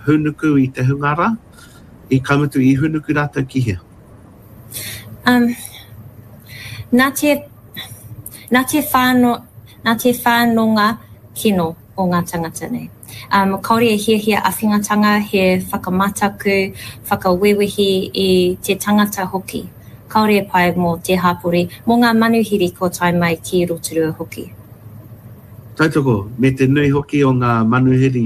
hūnuku i te hunga rā? I ka mutu i hūnuku rātou ki hea? Um, nā te, nā te whāno, nā te whānonga kino o ngā tangata nei. Um, kaore e hiahia awhingatanga, he whakamataku, whakawewehi i te tangata hoki. Kaore e pai mō te hapori, mō ngā manuhiri kua tae mai ki Rotorua hoki. Tautoko, me te nui hoki o ngā manuhiri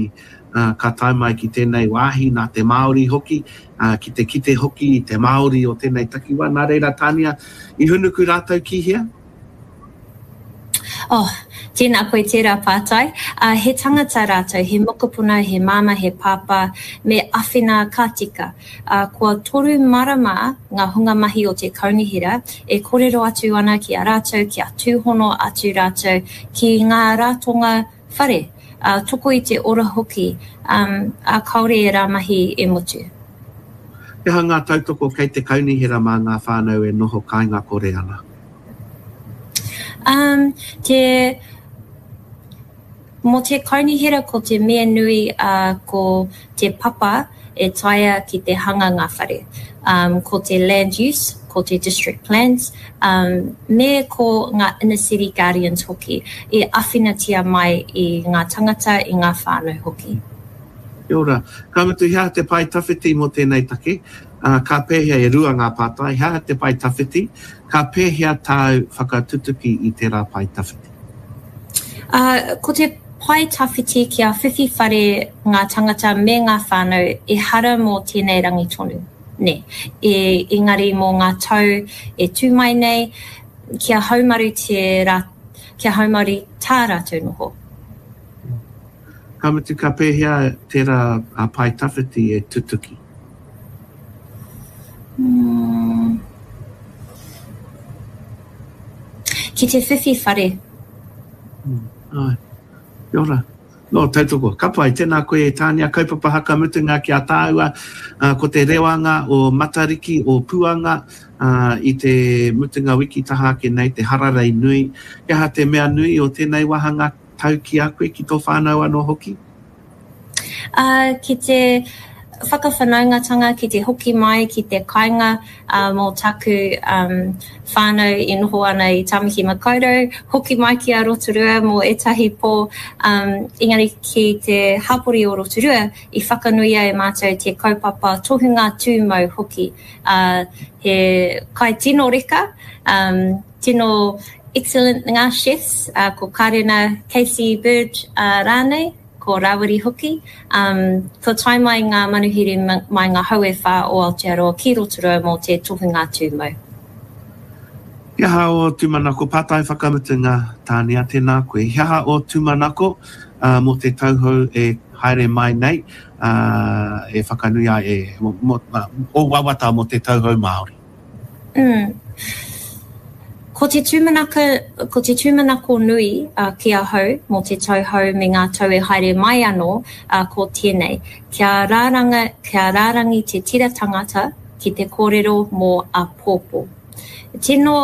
ka tae mai ki tēnei wāhi nā te Māori hoki, ki te kite hoki i te Māori o tēnei takiwā. Nā reira, Tānia, i hunuku rātou ki hea? Oh, tēnā koe tērā pātai. Uh, he tangata rātou, he mokopuna, he māmā, he pāpā, me awhina ka tika. Uh, kua toru marama ngā hunga mahi o te kaunihera e korero atu ana ki a rātou, kia tūhono atu rātou ki ngā ratonga whare, ā, toko i te ora hoki, ā, ā, kāore ērā mahi e motu. He aha ngā tautoko kei te kaunihera mā ngā whānau e noho kāinga kore ana? Um, te, mō te kaunihera ko te mea nui, ā, ko te papa e taea ki te hanga ngā whare. Um, ko te land use, ko te district plans, um, me ko ngā inner city guardians hoki, i awhinatia mai i ngā tangata, i ngā whānau hoki. Kia ora. Ka mutu, he aha te pae tawhiti mō tēnei take? Ā, ka pēhea, e rua ngā pātai, he aha te pae tawhiti? Ka pēhea tāu whakatutuki i tērā pae tawhiti? Ā, ko te pae tawhiti kia whiwhi whare ngā tangata me ngā whānau ehara mō tēnei rangi tonu, nē, e, engari mō ngā tau e tū mai nei, kia haumaru te rā, kia haumaru tā rātou noho. Ka mutu, ka pēhea tērā pae tawhiti e tutuki? Mm. Ki te whiwhi whare. Mm, ai. Kia ora. No, tautoko. Ka pai, tēnā koe e Tānia, kaupapa haka mutunga ki a tāua, uh, ko te rewanga o Matariki, o Puanga, uh, i te mutunga wiki taha ake nei, te hararei nui. He aha te mea nui o tēnei wāhanga tau ki a koe, ki tō whānau anō hoki? Ā, ki te whakawhanaungatanga, ki te hoki mai ki te kāinga mō taku whānau e noho ana i Tāmaki Makaurau, hoki mai ki a Rotorua mō ētahi pō, engari ki te hapori o Rotorua i whakanuia e mātou te kaupapa tohunga tūmau hoki, ā, he kai tino reka, tino excellent ngā chefs, ko Karena Casey Bird rānei. ko Rawiri hoki. Um, kua tae mai ngā manuhiri mai ngā hau e whā o Aotearoa ki Rotorua mō te tohunga tūmau. He aha ō tūmanako, pātai whakamutunga, Tānia, tēnā koe. He aha ō tūmanako uh, mō te tau hou e haere mai nei, uh, e whakanui ai, e, mō, uh, ō wawata mō te tau hou Māori? Mm. Ko te tūmanako, ko te tūmanako nui uh, ki ahau mō te tau hou me ngā tau e haere mai anō, uh, ko tēnei. Kia rāranga, kia rārangi te tira tangata ki te kōrero mō āpōpō. Tino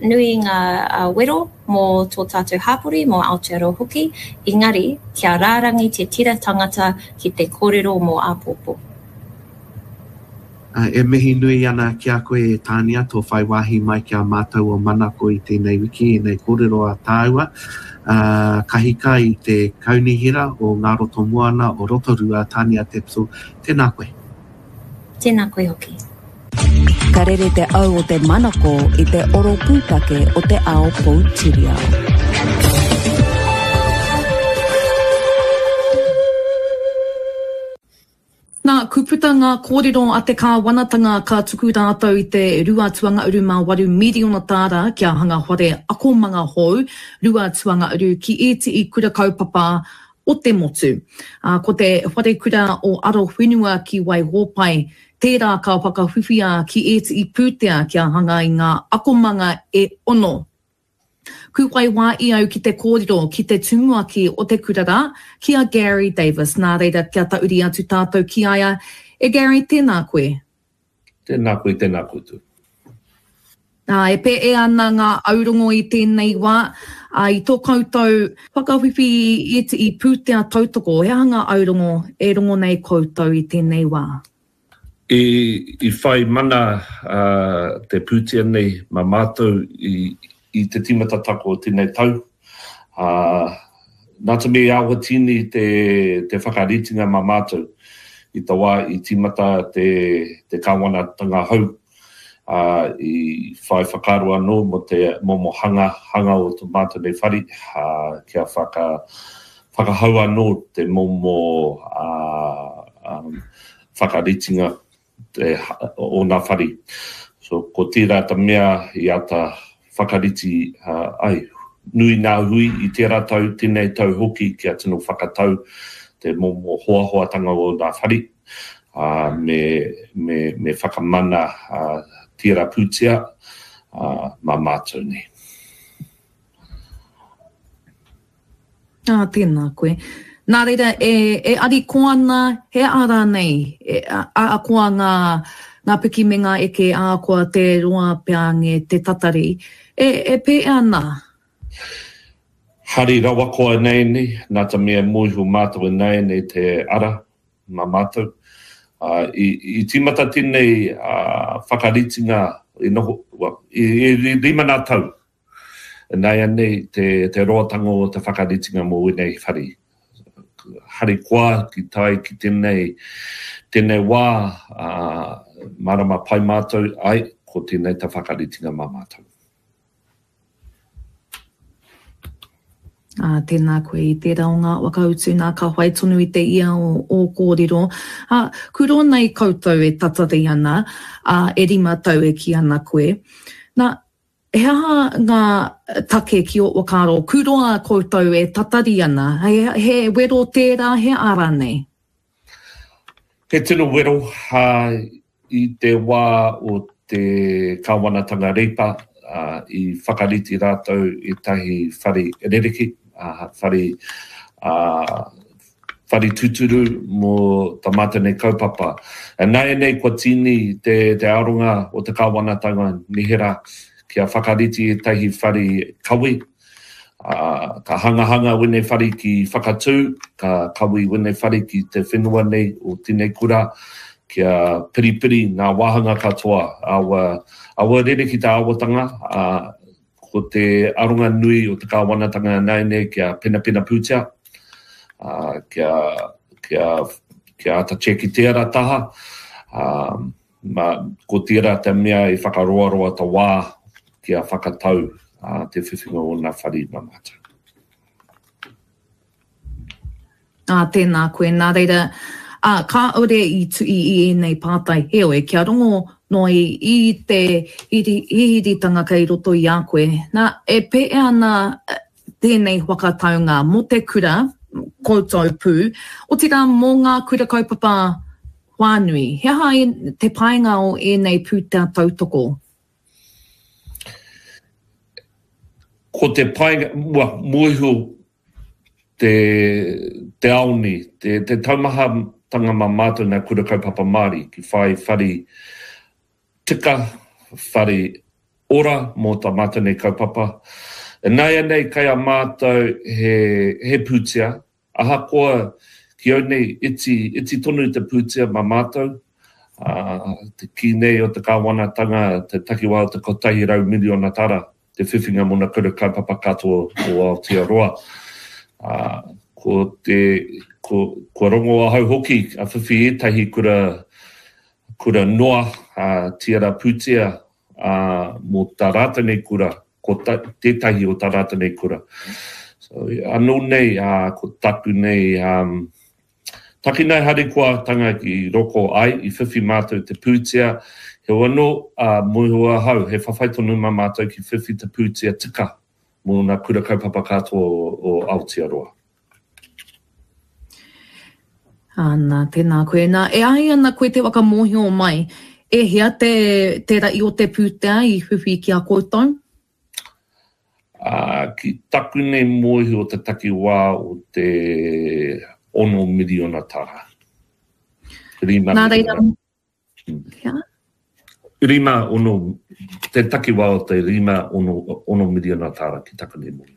nui ngā uh, wero mō tō tātou hāpori, mō Aotearoa hoki, engari kia rārangi te tira tangata ki te kōrero mō āpōpō. E mihi nui ana ki a koe e Tānia tō whai wāhi mai ki a mātou o Manako i tēnei wiki, ēnei kōrero a tāua. Kahika i te Kaunihera o Ngā Roto Moana o Rotorua, Tānia Tapsell, tēnā koe. Tēnā koe hoki. Ka rere te au o te manako i te oro pūtake o te ao poutiriao. Nā, ku puta ngā kōrero a te kāwanatanga ka tuku rātou i te 2.8 miriona tāra kia hanga whare akomanga hou 2.uru ki ētehi kura kaupapa o te motu. Ā, ko te wharekura o Arowhenua ki Waihōpai tērā ka whakawhiwhia ki ētehi pūtea kia hanga i ngā akomanga e ono. Ku whai wā i au ki te kōrero ki te tumuaki o te kura rā, ki a Gary Davis, nā reira kia tauri atu tātou ki a ia. E Gary, tēnā koe. Tēnā koe, tēnā koutou. Ā, e pēʻe ana ngā aurongo i tēnei wā, ā, i tō koutou whakawhiwhi i ēteʻi pūtea tautoko, he aha ngā aurongo e rongo nei koutou i tēnei wā? I, i whai mana te pūtea nei mā mātou i, i te tīmatataka o tēnei tau, ā, nā te mea i awatīni te, te whakaritinga mā mātou i te wā i tīmata te, te kāwanatanga hou ā, i whai whakaaro anō mō te momo hanga, hanga o tō mātou nei whare, ā, kia whaka, whakahau anō te momo, ā, ā, whakaritinga te, o nā whare. So, ko tērā ta mea i āta whakariti, ā, ai, nui nā hui i tērā tau, tēnei tau hoki kia tino whakatau te momo hoahoatanga o nā whare. ā, me, me, me whakamana ā, tērā pūtea ā, mā mātou nei. Ā, tēnā koe. Nā reira, e, e ariko ana, he aha rānei, e, a, ahakoa ngā, ngā piki me ngā eke, ahakoa te roa pea nge te tatari, e, e pēhea ana? Hari rawa koa ināianei, nā te mea mōhio mātou ināianei te ara, mā mātou. Ā, i, i tīmata tēnei whakaritinga i noho, well, i, i rima nā tau ināianei te, te roatanga o te whakaritinga mō ēnei whare. Harikoa ki tae ki tēnei, tēnei wā, ā, mārama pai mātou, ai, ko tēnei te whakaritinga mā mātou. Ā, tēnā koe i tērā o ngā whakautu nā ka whai tonu i te ia o ō kōrero. Ā, kuro nei koutou e tatari ana, ā, e rima tau e kī ana koe. Nā, he aha ngā take ki ō whakaaro, kuroa koutou e tatari ana, he, he wero tērā, he aha rānei? He tino wero, ā, I te wā o te kāwanatanga Reipa, i whakarite rātou ētahi whare rereke, whare, whare tūturu mō tā mātou nei kaupapa. Nāianei kua tīni te, te aronga o te kāwanatanga nehera kia whakarite ētahi whare kawe, Ā, ka hangahanga wēnei whare ki Whakatū, ka kawe wēnei whare ki te whenua nei o tēnei kura, kia piripiri ngā wāhanga katoa, aua, aua rere ki te āwatanga, ā, ko te aronga nui o te kāwanatanga ināianei kia penapena pūtea, ā, kia, kia, kia āta tiaki tērā taha, ā, Ma, ko tērā te mea i whakaroaroa ta wā kia whakatau te whiwhinga o nā whare ma mātou. Ā, tēnā koe. Nā reira, ā, kāore i tuhi i ēnei pātai, heoi, kia rongo noa i, i te hihiritanga kei roto i a koe. Nā, e pēhea ana tēnei whakataunga mō te kura, koutou pū, otirā mō ngā kura kaupapa whānui. He aha te painga o ēnei pūtea tautoko? Ko te painga, well, mōhio te, te ao nei, te, te taumahatanga mā mātou nā Kura Kaupapa Māori ki whai whare tika, whare ora mō tā mātou nei kaupapa. Ināianei kei a mātou he, he pūtea, Ahakoa ki au nei iti, iti tonu te pūtea mā mātou, ā, te kī nei o te kāwanatanga, te takiwā o te 100 miriona tara te whiwhinga mō ngā kura kaupapa katoa o Aotearoa. Ā, ko te, ko, kua rongo ahau hoki a whiwhi ētahi kura, kura noa, ā, tiara pūtea, ā, mō tā rātou nei kura, ko ta, tētahi o tā rātou nei kura. So, anō nei, ā, ko taku nei, um, taki nei harikoatanga ki roko ai, i whiwhi mātou te pūtea, heoi anō, ā, mōhio ahau, he whawhai tonu mā mātou ki whiwhi te pūtea tika mō ngā kura kaupapa katoa o, o Aotearoa. Ana, tēnā koe. Nā, e āhei ana koe te whakamōhio mai, e hea te, te rahi o te pūtea i whiwhi ki a koutou? Ā, ki taku nei mōhio te takiwā o te ono miriona tara. Rima Nā reira, miriona. Hea? 5, 6, te takiwā o te 5, 6, 6 miriona tāra ki taku nei mōhio.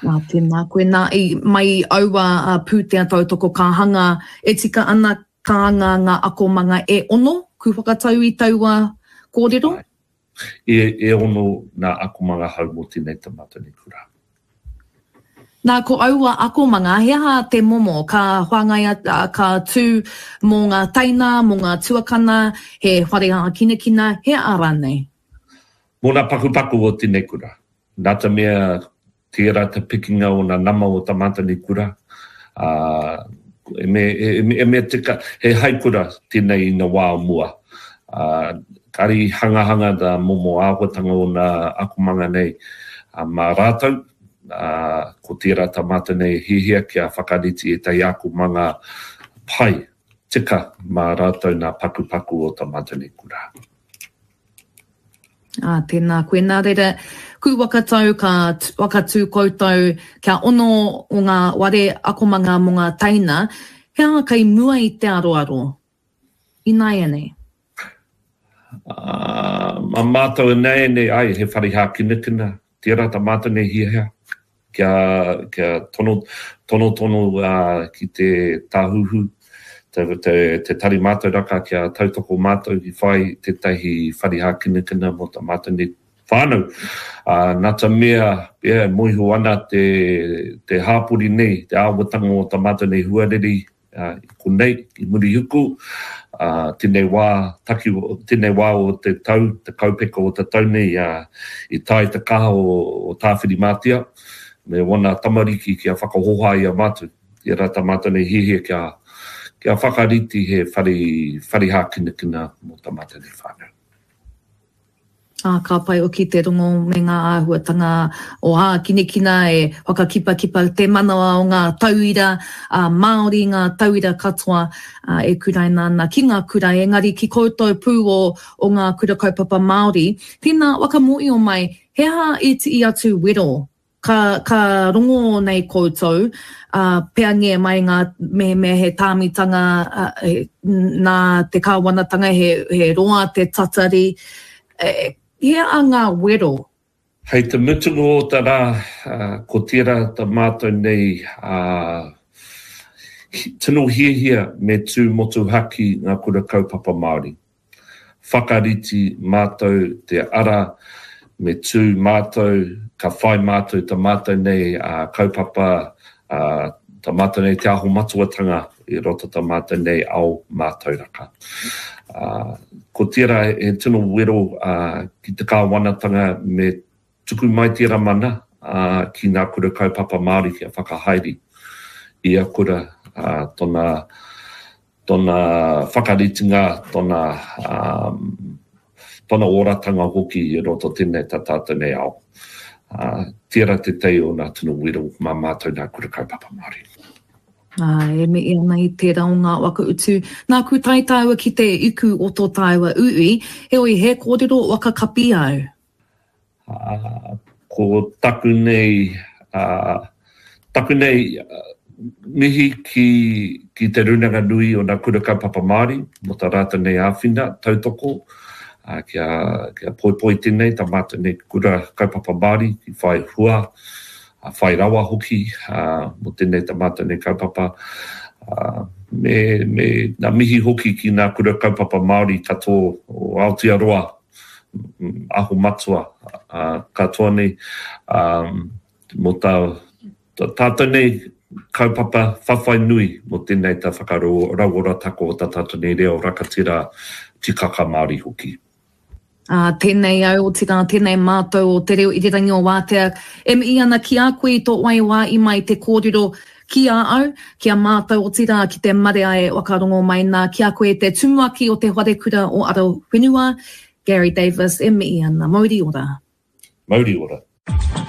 Nā, tēnā koe. Nā, i, mai i aua pūtea tautoko ka hanga, e tika ana ka anga ngā akomanga e ono, ku whakatau i taua kōrero? Āe. E, e ono ngā akomanga hou mō tēnei ta mātou nei kura. Nā, ko aua akomanga, he aha te momo ka whāngaia, ka tū mō ngā teina, mō ngā tuakana, he whare hākinakina, he aha rānei? Mō ngā pakupaku o tēnei kura. Nā te mea tērā te pikinga o ngā nama o tā mātou nei kura, ā, e me, e mea tika, he haikura tēnei i ngā wā o mua. Ā, kāre i hangahanga ngā momo āhuatanga o ngā akomanga nei mā rātou, ā, ko tērā tā mātou nei hiahia kia whakarite ētahi akomanga pai, tika mā rātou ngā pakupaku o tā mātou nei kura. Ā, tēnā koe. Nā reira, ku whakatau ka whakatū koutou kia ono o ngā ware akomanga mō ngā teina, he aha kei mua i te aroaro ināianei? Ā, mā mātou ināianei, āe, he whare hākinakina, tērā tā mātou nei hiahia, kia, kia tono, tonotono ki te Tāhuhu, te, te, te Tari Mātauraka kia tautoko mātou ki whai tētahi whare hākinakina mō tā mātou nei whānau. Ā, nā te mea, yeah, e mōhio ana te, te hāpori nei, te āhuatanga o tā mātou nei huarere, i konei, i Murihiku, ā, tēnei wā, taki, tēnei wā o te tau, te kaupeka o te tau nei, ā, i tae te kaha o, o Tāwhirimātea me wana tamariki kia whakahoha i a mātou, i a rātou mātou nei hiahia kia, kia whakarite he whare, whare hākinakina mō tā mātou nei whānau. Ā, ka pai hoki te rongo me ngā āhuatanga o ākinekina e whakakipakipa te manawa o ngā tauira Māori, ngā tauira katoa e kuraina ana ki ngā kura, engari ki koutou pū o, o ngā kura kaupapa Māori. Tēnā, whakamōio mai, he aha ētehi atu wero Ka, ka rongo nei koutou, ā, peangia mai ngā, mehemea he tāmitanga, ā, he, nā te kāwanatanga, he, he roa te tatari, e, he aha ngā wero? Hei te mutunga o te rā, ko tērā ta mātou nei, ā, tino hiahia me tū motuhake ngā kura kaupapa Māori. Whakarite mātou te ara me tū mātou, ka whai mātou ta mātou nei kaupapa, ta mātou nei Te Aho Matuatanga i roto ta mātou nei ao mātauraka. Ko tērā he tino wero ki te kāwanatanga me Tuku mai tērā mana ki ngā kura kaupapa Māori kia whakahaere ia kura tona, tona whakaritenga, tona, tona oratanga hoki i roto tēnei tā tātou nei ao. Tērā te tei o ngā tino wero mā mātou ngā kura kaupapa Māori. Ā, e mihi ana i tērā o ngā waka utu. Nāku tae tāua ki te iku o tō tāua uiui, heoi he kōrero waka kapi au. Ā, ko taku nei, ā, taku nei mihi ki, ki Te Rūnanga Nui o Ngā Kura Kaupapa Māori mō tā rātou nei āwhina, tautoko, ā, kia, kia poipoi tēnei, tā mātou nei kura kaupapa Māori ki whai hua, ā, whai rawa hoki, ā, mō tēnei tā mātou nei kaupapa. Ā, me, me ngā mihi hoki ki ngā kura kaupapa Māori katoa o Aotearoa Aho Matua katoa nei mō tā tātou nei kaupapa whawhai nui mō tēnei tā whakarauorataka o tā tātou nei reo rakatira tikaka Māori hoki. Ā, tēnei au, otirā tēnei mātou o Te Reo Irirangi o Wātea e mihi ana ki a koe i tō waiwā i mai te kōrero Ki a au, ki a mātou otirā ki te marea e whakarongo mai nā ki a koe te Tumuaki o te Wharekura o Arowhenua, Gary Davis e mihi ana. Mauri ora. Mauri ora.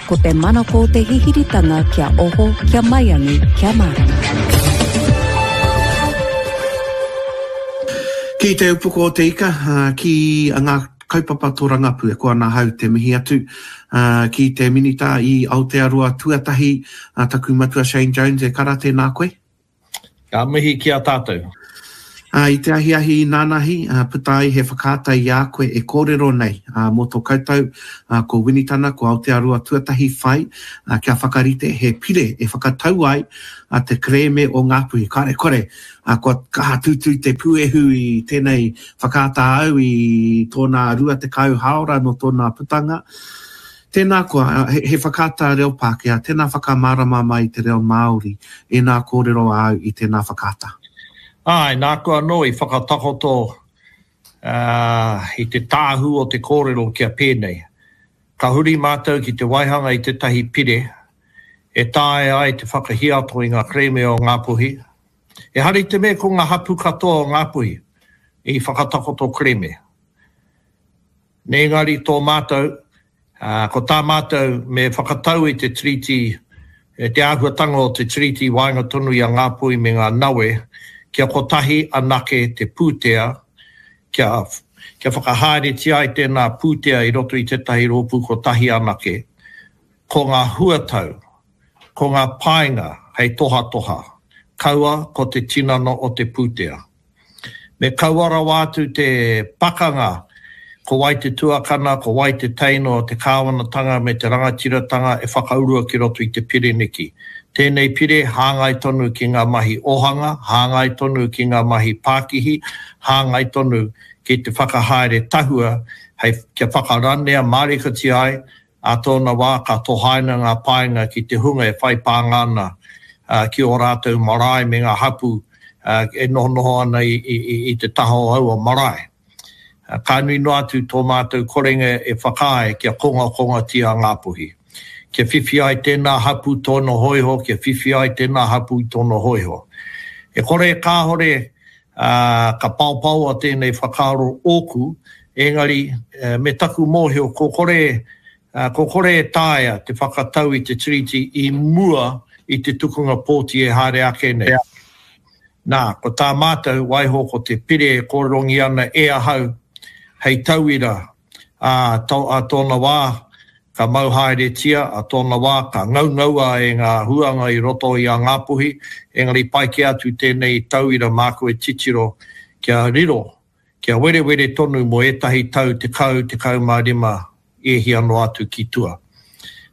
Ko te manako te hihiritanga kia oho, kia maiangi, kia mārama. Ki te upoko o te ika, ki ngā kaupapa tōrangapū e koa ana ahau te mihi atu ki te Minita i Aotearoa tuatahi, taku matua Shane Jones, e kara tēnā koe. Ka mihi ki a tātou. Ā, i te ahiahi inānahi, ā, puta ai he whakaata i a koe e kōrero nei, ā, mō tō koutou, ā, ko Winitana, ko Aotearoa Tuatahi whai, ā, kia whakarite he pire e whakatau ai a te kerēme o Ngāpuhi. Kāre kore, ā, kua kaha tūtū te puehu i tēnei whakaata au i tōna 20 hāora nō tōna putanga. Tēnā koa, he, he whakaata reo Pākehā, tēnā whakamārama mai i te reo Māori, ēnā kōrero āu i tēnā whakaata. Āe, nāku anō i whakatakoto i te tāhū o te kōrero kia pēnei. Ka huri mātou ki te waihanga i tētahi pire e taea ai te whakahiato i ngā kerēme o Ngāpuhi. Ehara i te mea ko ngā hapū katoa o Ngāpuhi i whakatakoto kerēme. Nē engari tō mātou, ā, ko tā mātou me whakatau i te Tiriti, te āhuatanga o te Tiriti i waenga tonu i a Ngāpuhi me ngā Nawe, kia kotahi anake te pūtea, kia, kia whakahaeretia ai tēnā pūtea i roto i tētahi rōpū kotahi anake, ko ngā huatau, ko ngā painga hei tohatoha, kaua ko te tinana o te pūtea. Me kaua rawa atu te pakanga ko wai te tuakana, ko wai te teina o te kāwanatanga me te rangatiratanga e whakaurua ki roto i te pire neki. Tēnei pire hāngai tonu ki ngā mahi ohanga, hāngai tonu ki ngā mahi pākihi, hāngai tonu ki te whakahaere tahua hei kia whakaranea mārikatia ai Ā tōna wā ka tohaina ngā painga ki te hunga e whai pānga ana ki ō rātou marae me ngā hapū e nohonoho ana i te taha o aua marae. Ka nui noa atu tō mātou korenga e whakaae kia kongakongatia a Ngāpuhi. Kia whiwhi ai tēnā hapū tōna hōiho, kia whiwhi ai tēnā hapū i tōna hōiho. E kore e kāore Ā, ka paopaoa tēnei whakaaro ōku, engari, me taku mōhio ko kore, ko kore e taea te whakatau i te Tiriti i mua i te tukunga pōti e haere ake nei. Nā, ko tā mātou, waiho ko te pire e kōrerongia ana e ahau hei tauira Ā, ā tōna wā, ka mau haeretia, ā tōna wā, ka ngaungaua e ngā huanga i roto i a Ngāpuhi, engari pai kē atu tēnei tauira māku e titiro kia riro, kia werewere tonu mō ētahi tau 10, 15 e hia noa atu ki tua.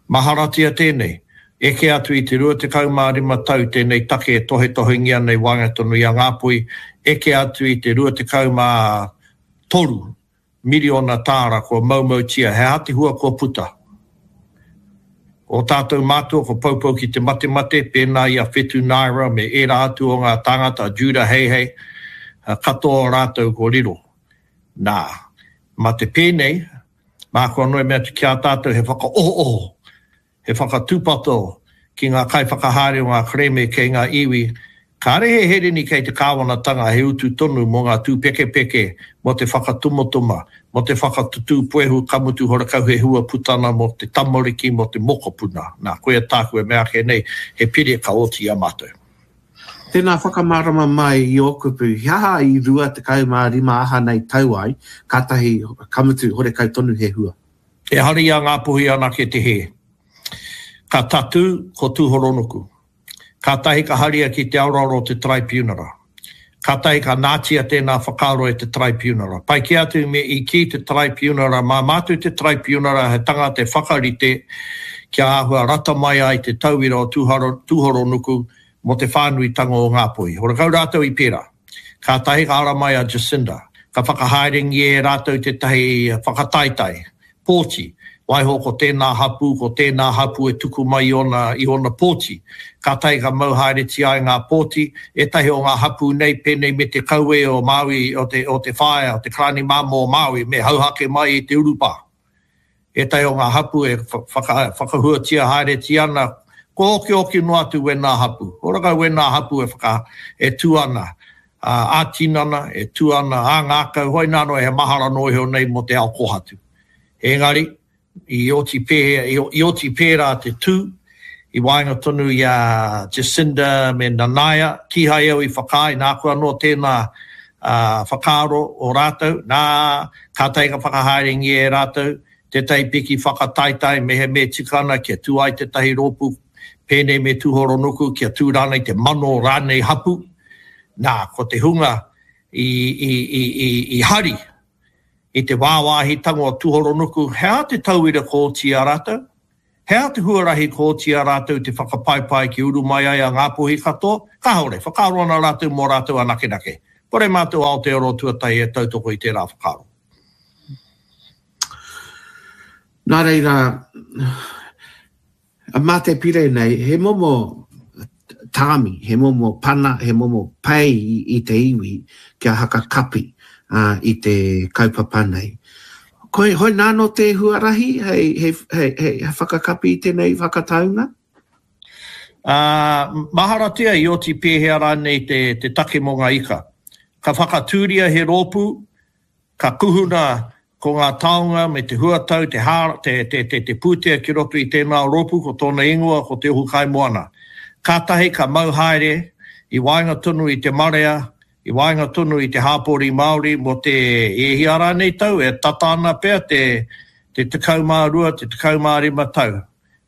Maharatia tēnei, eke atu i te 25 tau tēnei take e tohetohengia nei waenga tonu i a Ngāpuhi, eke atu i te 23 Miriona tāra kua maumautia, he aha te hua kua puta? Ko ō tātou mātua kua poupou ki te matemate, pēnā i a Whetu Naira me ērā atu o ngā tāngata, a Judah Heihei, katoa o rātou kua riro. Nā, mā te pēnei, māku anō e mea atu ki a tātou he whakaohooho He whakatūpato ki ngā kaiwhakahaere o ngā kerēme kei ngā iwi, kāre he hereni kei te kāwanatanga he utu tonu mō ngā tūpekepeke, mō te whakatumotuma, mō te whakatutū puehu ka mutu horakau he hua putana mō te tamariki, mō te mokopuna. Nā, koia tāku e mea ake nei, he pire ka oti i a mātou. Tēnā whakamārama mai i ō kupu, he aha i 25 aha nei tau ai, kātahi ka mutu horekau tonu he hua? Ehara i a Ngāpuhi anake te hē. Ka tatū ko Tūhoronuku. Kātahi ka haria ki te aroaro o te Taraipiunara. Kātahi ka nātia tēnā whakaaro e te Taraipiunara. Pai kē atu me i kī te Taraipiunara mā mātou te Taraipiunara he tangata e whakarite kia āhua rata mai ai te tauira o Tūhoronuku mō te whānuitanga o Ngāpuhi. Horakau rātou i pērā. Kātahi ka ara mai a Jacinda, ka whakahaerengia e rātou tētahi whakataetae, pōti, waiho ko tēnā hapū, ko tēnā hapū e tuku mai i ōna, i ōna pōti. Kātahi ka mau haeretia ai ngā pōti, ētahi o ngā hapū nei, pēnei me te kaue o Māui, o te, o te whaea, o te karani māmā o Māui, me hauhake mai i te urupā. Ētahi o ngā hapū e whakahuatia haeretia ana, kua okioki noa atu wēnā hapū. Ora kau wēnā hapū e whaka, e tū ana ā-tinana, e tū ana ā-ngākau, hoi nā noa he mahara noa iho nei mō te ao kōhatu. Engari, i oti pēhea, i oti pērā te tū, i waenga tonu i a Jacinda me Nanaia, kīhai au i whakaae, nāku anō tēnā whakaaro o rātou, nā, kātahi ka whakahaerengia e rātou tētahi piki whakataetae mehemea tika ana kia tū ai tētahi rōpū pēnei me Tūhoronuku, kia tū rānei te mano rānei hapū. Nā, ko te hunga. I, i, i, i, i hari i te wāwāhitanga o Tuhoronuku, he aha te tauira kua oti i a rātou? He aha te huarahi kua oti i a rātou te whakapaepae kia uru mai ai a Ngāpuhi katoa? Kāore, whakaaro ana rātou mō rātou anakenake. Kore mātou Aotearoa tuatahi e tautoko i tērā whakaaro. Nā reira, Mā te pire nei, he momo tāmi, he momo pana, he momo pei i te iwi kia haka kapi i te kaupapa nei. Koi, hoi nāno te huarahi hei, hei, hei, hei whakakapi i tenei whakataunga? Ā, maharatia i oti pēhea rānei te, te take mō ngā ika. Ka whakatūria he rōpū, Ka kuhuna ko ngā taonga me te huatau, te hā, te, te, te, te pūtea ki roto i tēnā rōpū, ko tōna ingoa ko Te Ohu Kaimoana. Kātahi ka mau haere i waenga tonu i te marea, i waenga tonu i te hāpori Māori mō te e hia rānei tau, e tata ana pea te, te 12, te 15 tau.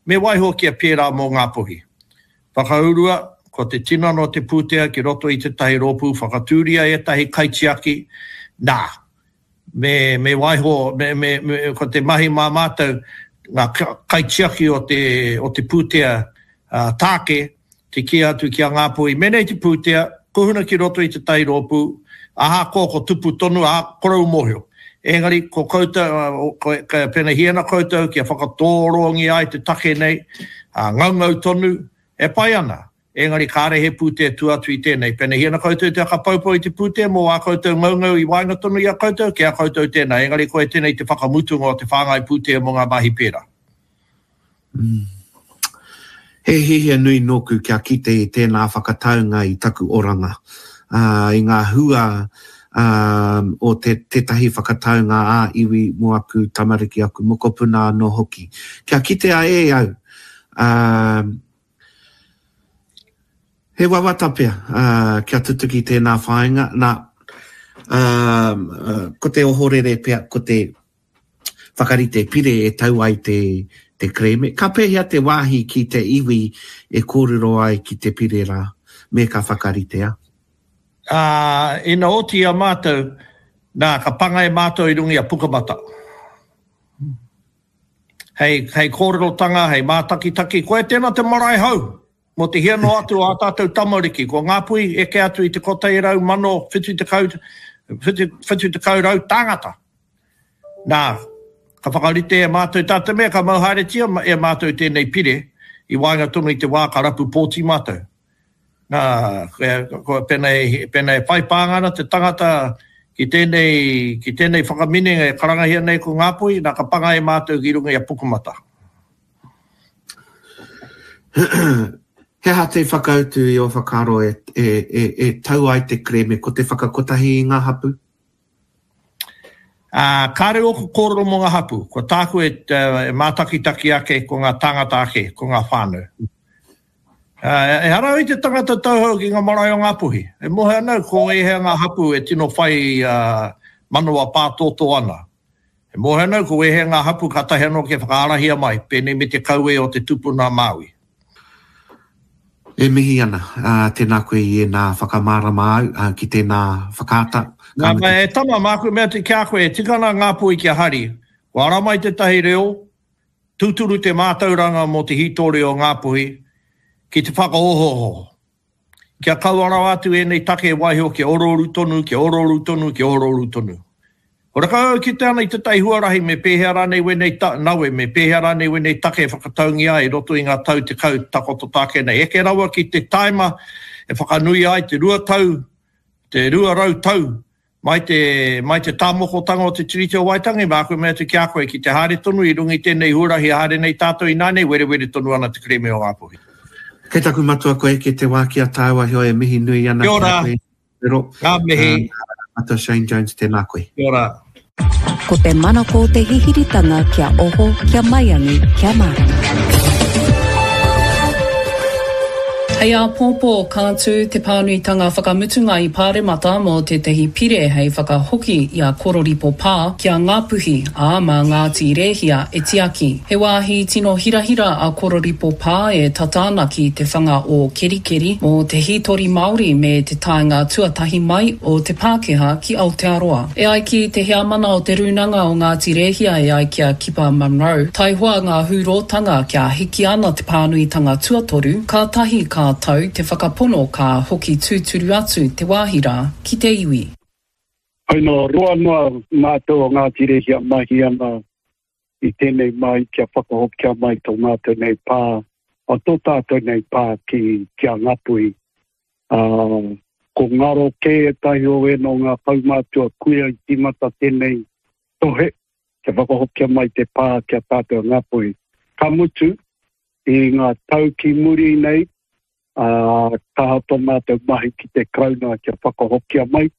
Me waiho kia pērā mō Ngāpuhi. Whakaurua, ko te tinana o te pūtea ki roto i tētahi rōpū whakatūria ētahi kaitiaki, nā, me, me waiho, me, me, me, ko te mahi mā mātou, ngā kaitiaki o te, o te pūtea tāke, te kī atu ki a Ngāpuhi, menei te pūtea, kuhuna ki roto i tētahi rōpū, ahakoa ko tupu tonu, ā, korou mōhio. Engari, ko koutou, ko, pēnei ana koutou kia whakatōrongia ai te take nei, ā, ngaungau tonu, e pai ana. Engari kāre he pūtea tua atu i tēnei. Pēnei ana koutou te whakapoupou i te pūtea mō ā koutou ngaungau i waenga tonu i a koutou, ki a koutou tēnā. Engari koia tēnei te whakamutunga o te whāngai pūtea mō ngā mahi pērā. He hiahia nui nōku kia kite i tēnā whakataunga i taku oranga, ā, i ngā hua, ā, o te, tētahi whakataunga ā-iwi mō aku tamariki, aku mokopuna anō hoki. Kia kitea e au, ā, he wawata pea, ā, kia tutuki tēnā whāinga, nā, ā, ko te ohorere pea, ko te, whakarite pire e tau ai te te kerēme. Ka pēhea te wāhi ki te iwi e kōrero ai ki te pire rā, me ka whakaritea? Ā, ina oti i a mātou, nā, ka panga e mātou i runga i a Pukamata. Hei, hei kōrerotanga, hei mātakitaki, koia tēnā te marae hou, mō te hia noa atu o ā tātou tamariki, ko Ngāpuhi eke atu i te 170, 70 tāngata. Nā, ka whakarite e mātou tā te mea ka mau haeretia e mātou tēnei pire i waenga tonu i te wā ka rapu pōti mātou. Nā, ko, pēnā e, pēnā e whai pānga ana te tangata ki tēnei, ki tēnei whakaminenga e karangahia nei ko Ngāpuhi, nā, ka panga e mātou ki runga i a Pukamata. He aha te whakautu i ō whakaaro e, e, e, e tau ai te kerēme ko te whakakotahi i ngā hapū? Ā, kāre ōku kōrero mō ngā hapū, ko tāku e, e mātakitaki ake ko ngā tāngata ake, ko ngā whānau. Ā, ehara au i te tangata tauhou ki ngā marae o Ngāpuhi. E mōhio ana au ko ēhea ngā hapū e tino whai manawa pātōtō ana. E mōhio ana au ko ēhea ngā hapū kātahi anō kia whakaarahia mai, pēnei me te kaue o te tupuna Māui. E mihi ana, ā, tēnā koe i ēnā whakamārama au, ā, ki tēnā whakaata, ka mutu. E tama, māku e mea atu ki a koe, e tika ana ngā poi kia hari. Kua ara mai tētahi reo, tūturu te mātauranga mō te hītori o Ngāpuhi, ki te whakaohooho. Kia kaua rawa atu ēnei take e waiho kia orooru tonu, kia orooru tonu, kia orooru tonu. Horekau au kite ana i tētahi huarahi me pēhea rānei wēnei ta, nawe, me pēhea rānei wēnei take e whakataungia ai i roto i ngā tau 10 takoto tāke nei. Eke rawa ki te taima e whakanuia ai te 2 tau, te 200 tau mai te, mai te tāmokotanga o te Tiriti o Waitangi, māku e mea atu ki a koe, ki te haere tonu i runga i tēnei huarahi e haere nei tātou ināianei, werewere tonu ana te kerēme o Ngāpuhi. Kei taku matua kua eke te wā ki a tāua, heoi e mihi nui ana ki a koe. Pero, Ngā mihi. Matua Shane Jones, tēnā koe. Kia ora. Ko te manako o te hihiritanga kia oho, kia maiangi, kia mārama. Hei āpōpō, ka tū te pānuitanga whakamutunga i Pāremata mō tētahi pire hei whakahoki i a Kororipo Pā ki a Ngāpuhi, ā, mā Ngāti Rēhia e tiaki. He wāhi tino hirahira a Kororipo Pā e tata ana ki te whanga o Kerikeri mō te hītori Māori me te taenga tuatahi mai o te Pākehā ki Aotearoa. E ai ki te heamana o te Rūnanga o Ngāti Rēhia e ai ki a Kipa Munro, taihoa ngā hūrōtanga kia hiki ana te pānuitanga tuatoru, kātahi ka tau te whakapono ka hoki tūturu atu te wāhi rā ki te iwi. Koinā roa noa mātou o Ngāti Rehia mahi ana i tēnei mai kia whakahokia mai tō mātou nei pā, tō tātou nei pā ki, ki a Ngapuhi. Ā, ko ngaro kē ētahi o ēnō ngā kaumātua kuia i tīmata tēnei tohe kia whakahokia mai te pā ki a tātou a Ngāpuhi. Ka mutu, i ngā tau ki muri nei, ā, kaha tō mātou mahi ki te Karauna kia whakahokia mai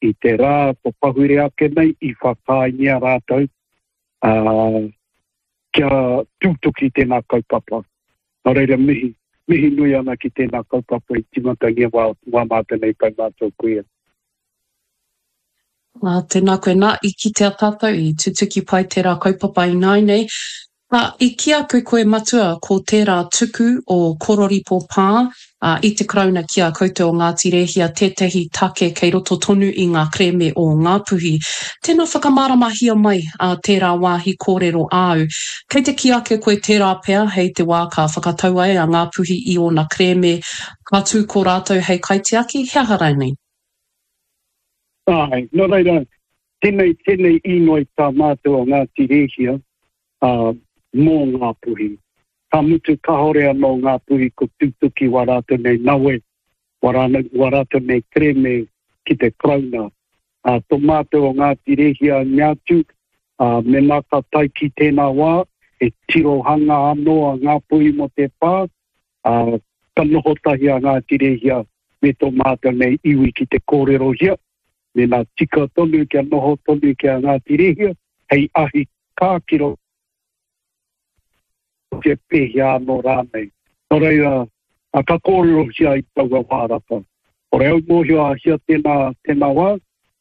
i te rā ko pahure ake nei i whakaaengia rātou, ā, kia tūtuki tēnā kaupapa. Nō reira mihi, mihi nui ana ki tēnā kaupapa i tīmatangia wā, wā mātou nei kaumātua kuia. Ā, tēnā koe. Nā, i kitea tātou, i tutuki pai tērā kaupapa ināinei. Ā, i kī atu koe, Matua, ko tērā tuku o Kororipo Pā, ā, i te Karauna ki a koutou o Ngāti Rēhia tētahi take kei roto tonu i ngā kerēme o Ngāpuhi. Tēnā whakamāramahia mai, ā, tērā wāhi kōrero āu. Kei te kī ake koe tērā pea hei te wā ka whakatau ai a Ngāpuhi i ōna kerēme, ka tū ko rātou hei kaitiaki, he aha rānei? Āe, nō reira, tēnei, tēnei īnoi tā mātou o Ngāti Rēhia, ā, mō Ngāpuhi. Ka mutu kāore anō Ngāpuhi ko tūtuki wā rātou nei nawe, wā rānau, wā rātou nei kerēme ki te Karauna. Ā, tō mātou o Ngāti Rēhia i mea atu, ā, mēnā ka tae ki tēnā wā, he tirohanga anō a Ngāpuhi mō te pā, ā, ka noho tahi a Ngāti Rēhia me tō mātou nei iwi ki te kōrerohia, mēnā tika tonu kia noho tonu ki a Ngāti Rēhia hei ahi kā ki roto e pēhea anō rānei. Nō reira, ka kōrerohia i taua wā rata. Kore au mōhio a hia tēnā, tēnā wā,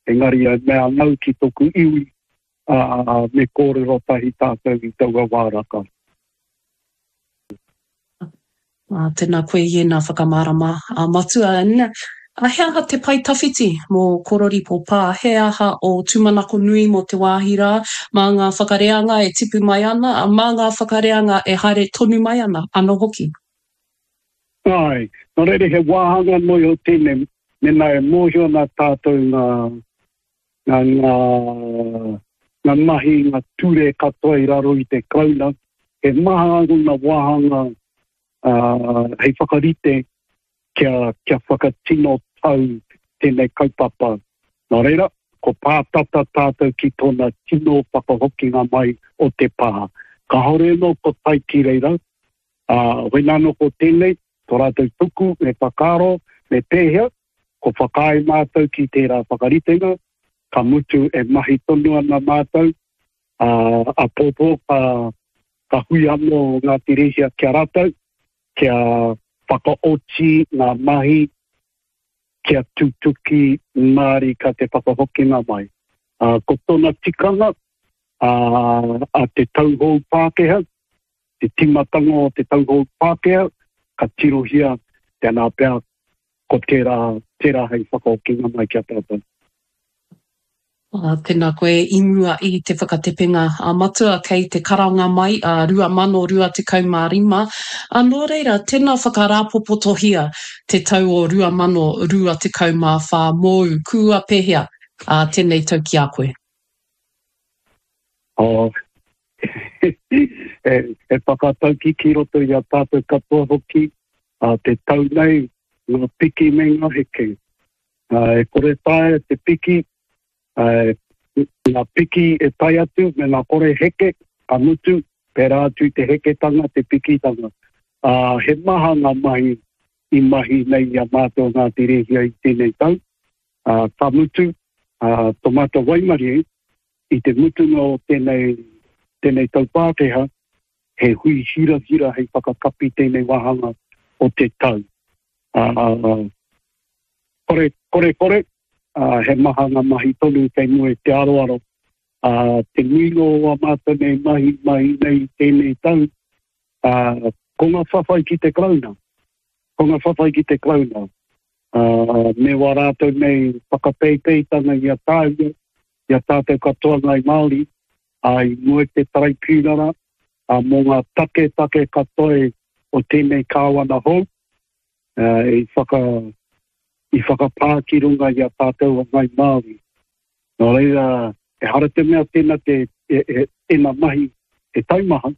engari e mea ana au ki tōku iwi, ā, me kōrero tahi tātou i taua wā rata. Ā, tēnā koe i ēnā whakamārama a Matua. And, ā, he aha te pae tawhiti mō Kororipo Pā? He aha ō tūmanako nui mō te wāhi rā, mā ngā whakareanga e tipu mai ana, ā, mā ngā whakareanga e haere tonu mai ana anō hoki? Āe, nō reira he wāhanga noa iho tēnei, mēnā e mōhio ana tātou ngā, ngā, ngā, ngā mahi, ngā ture katoa i raro i te Karauna, he maha ōna wāhanga uh, hei whakarite kia, kia whakatino tau tēnei kaupapa. Nō reira, ko pātata tātou ki tōna tino whakahokinga mai o te pā. Kāore anō ko tae ki reira, ā, wēnā anō ko tēnei, tō rātou tuku me whakaaro, me pēhea, ko whakaae mātou ki tērā whakaritenga, ka mutu e mahi tonu ana mātou, ā, āpōpō ka, ka hui anō Ngāti Rēhia ki a rātou, kia whakaoti ngā mahi, kia tutuki mārika te whakahokinga mai. Ā, ko tōna tikanga, ā, a te tauhou Pākehā, te tīmatanga o te tauhou Pākehā, ka tirohia tēnā pea ko tērā, tērā hei whakahokinga mai ki a tātou. Ā, tēnā koe i mua i te whakatepenga a Matua kei te karanga mai a 2025, ā, nō reira, tēnā whakarāpopotohia te tau o 2024 mōu, kua pēhea, ā, tēnei tau ki a koe? Oh, he whakatauki ki roto i a tātou katoa hoki, a te tau nei, ngā piki me ngā heke. E kore taea te piki, ngā piki e tae atu me ngā kore heke, ka mutu, pērā atu i te heketanga, te pikitanga. He maha ngā mahi i mahi nei i a mātou Ngāti Rēhia i tēnei tau, ka mutu, tō mātou waimarie, I te mutunga o tēnei, tēnei tau Pākehā, he hui hirahira hei whakakapi tēnei wāhanga o te tau. Ā, kore, kore, kore, ā, he maha ngā mahi tonu kei mua i te aroaro. Ā, te nuinga o ā mātou nei mahi, mahi nei i tēnei tau, ā, ko ngā whawhai ki te Karauna, ko ngā whawhai ki te Karauna, ā, me wā rātou nei whakapeipeitanga i a tāua, i a tātou katoa Ngāi Māori, ā, i mua i te Taraipiunara, ā, mō ngā taketake katoa o tēnei Kāwana hou, ā, i whaka, i whakapā ki runga i a tātou a Ngāi Māori. Nō reira, ehara te mea tēnā te, e, e, tēnā mahi he taumaha,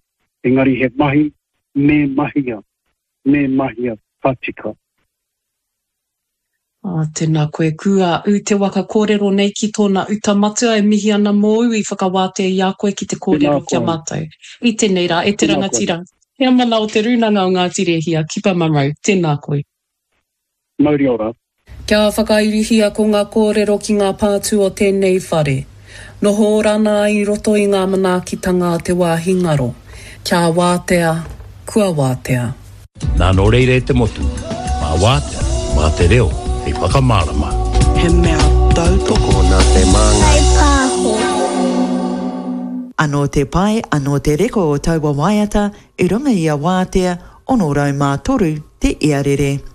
engari he mahi me mahia, me mahia ka tika. Ā, tēnā koe Kua ū te waka kōrero nei ki tōna uta matua e mihi ana mōu i whakawātea i a koe ki te kōrero ki a mātou i tēnei rā e te rangatira Heamana o Te Rūnanga o Ngāti Rēhia, Kipa Munro, tēnā koe. Mauri ora. Kia whakairihia ko ngā kōrero ki ngā pātū o tēnei whare. Noho ora ana i roto i ngā manaakitanga a te wāhi ngaro. Kia wātea, kua wātea. Nā nō reira e te motu, mā Wātea, mā te reo hei whakamārama. He mea tautoko nā te Māngai. Pāho. Anō te pai, anō te reka o taua waiata i runga i a Wātea 63 te iarere.